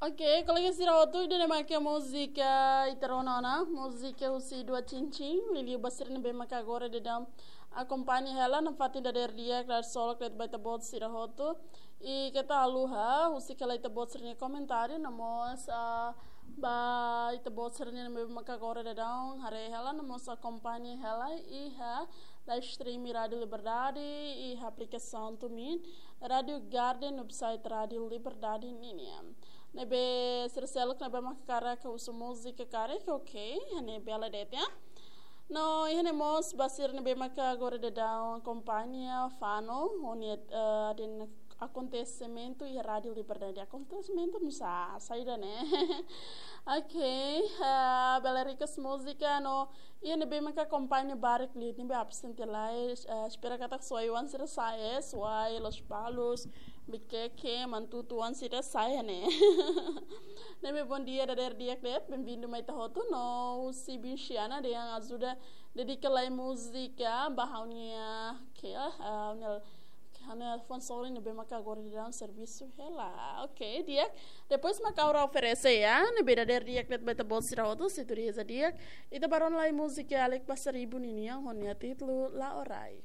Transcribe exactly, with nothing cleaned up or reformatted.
Ok, kolega sira hotu, ida-ne'e mak múzika ita rona ona, múzika husi Dua Cincin, liuliu ba sira ne'ebé maka agora daudaun akompaña hela nafatin dadeer di'ak, dadeer solok de'it ba ita-boot sira hotu. I keta haluha husik hela ita-boot sira-nia komentáriu, no mós, ah, ba ita-boot sira ne'ebé maka agora daudaun haree hela, no mós akompaña hela iha live stream Rádio Liberdade, iha aplikasaun TuneIn, Rádio Garden, website Rádio Liberdade ninian. Ne'ebé sira seluk ne'ebé maka hakarak husu múzika karik, ok, ne'e bele de'it, ya. No, iha ne'e mós ba sira ne'ebé maka agora daudaun akompaña fanu, ho nia, eh, dehan akontesimentu iha Rádio Liberdade. Akontesimentu nusá, saida ne'e. Ok, eh, bele request múzika, no iha ne'ebé maka akompaña barak liu, ne'ebé absente lai, eh, espera katak Suai oan sira sai, eh, Suai, Lospalos, Viqueque, Manatuto oan sira sai, ne'e. Ne'ebé bondia dadeer di'ak de'it, bem-vindo mai ita hotu, no husi biin Xiana dehan ajuda dedika lai múzika ba ha'u-nia, ke, ah, ha'u-nia, ke ha'u-nia fone sorin ne'ebé maka agora daudaun servisu hela. Ok, di'ak. Depois mak ha'u oferese, ya, ne'ebé dadeer di'ak de'it ba ita-boot sira hotu, se tuir reza di'ak. Ita bá rona lai múzika Alex Passariba ninian ho nia títulu La'o Rai.